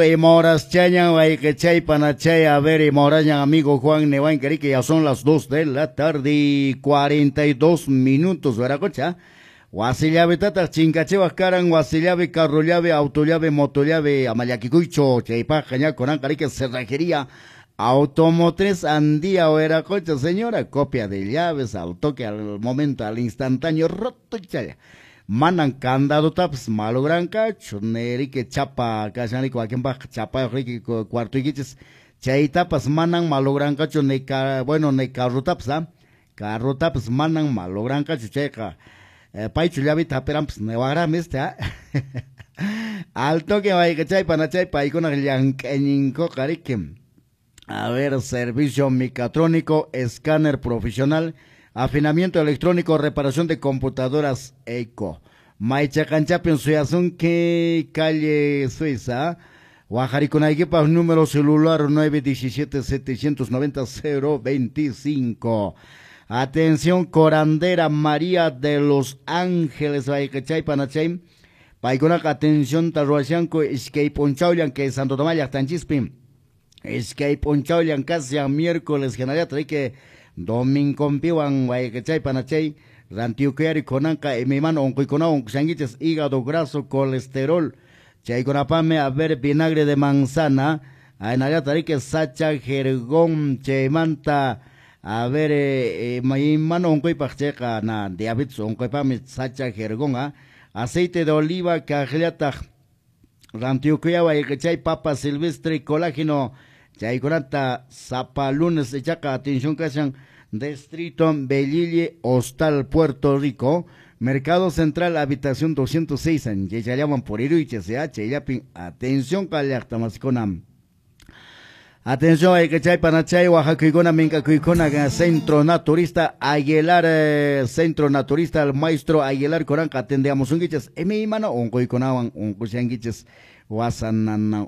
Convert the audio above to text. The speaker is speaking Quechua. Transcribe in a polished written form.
Imahoraschañan wayqichay panachay, a ver, imahorasñan amigo Juan Nehuanca, que ya son las 2 de la tarde y 42 minutos, ¿verdad? Wasi llavetataq chinkachiwaq karan, wasi llave, carro llave, auto llave, moto llave, ama llakikuychu, chaypaqqa ña kunanqa riki cerrajería automotriz Andía Huiracocha, señora, copia de llaves al toque, al momento, al instantáneo, roto chaya. Manan candadotapas malogranqachu, niriki chapa kashanriki wakinpaqqa chapayuq riki cuartoykichis, chaytapas manan malogranqachu, ni bueno, ni carrotapas, ¿ah? Carrotapas manan malogranqachu, chayqa paychu llavita hapiranpas niwaqraqmi este, ¿ah? Al toque wayqichay panachay paykunaq llank'ayninkuqa riki. A ver, servicio mecatrónico, escáner profesional, afinamiento electrónico, reparación de computadoras eco. Maychaqanchapin suyasunki, calle Suiza. Waqharikunaykipaq número celular 917 790 025. Atención, curandera María de los Ángeles, wayqichay panachay. Paykunaqa atención ruwashanku iskay p'unchawllan kay Santo Tomás llaqtanchispi. Iskay p'unchawllan kashan miércoles hinallataq riki domingonpiwan wayqichay panachay rantiyukuyari kunanqa imaymana unquykunawan unqushankichis, hígado graso, colesterol, chaykunapaqmi, a ver, vinagre de manzana, hinallataq riki sacha jergón, chaymanta, a ver, imaymana unquypaq chayqa na diabetes unquypaqmi sacha jergón, aceite de oliva kaqllataq rantiyukuya wayqichay papa silvestre, colágeno, chaykunata sapa lunes ichaqa atención kashan Distrito Belille, Hostal Puerto Rico, Mercado Central, habitación 206, en Yechallaman por Iruiche, chayllapin, atención kallaqta masikuna. Atención, wayqichay panachay, waqhakuykuna, minkakuykuna, Centro Naturista Aguilar, Centro Naturista, el maestro Aguilar kunanqa atendeamusunkichis, imaymana unquykunawan unqushankichis, wasanana.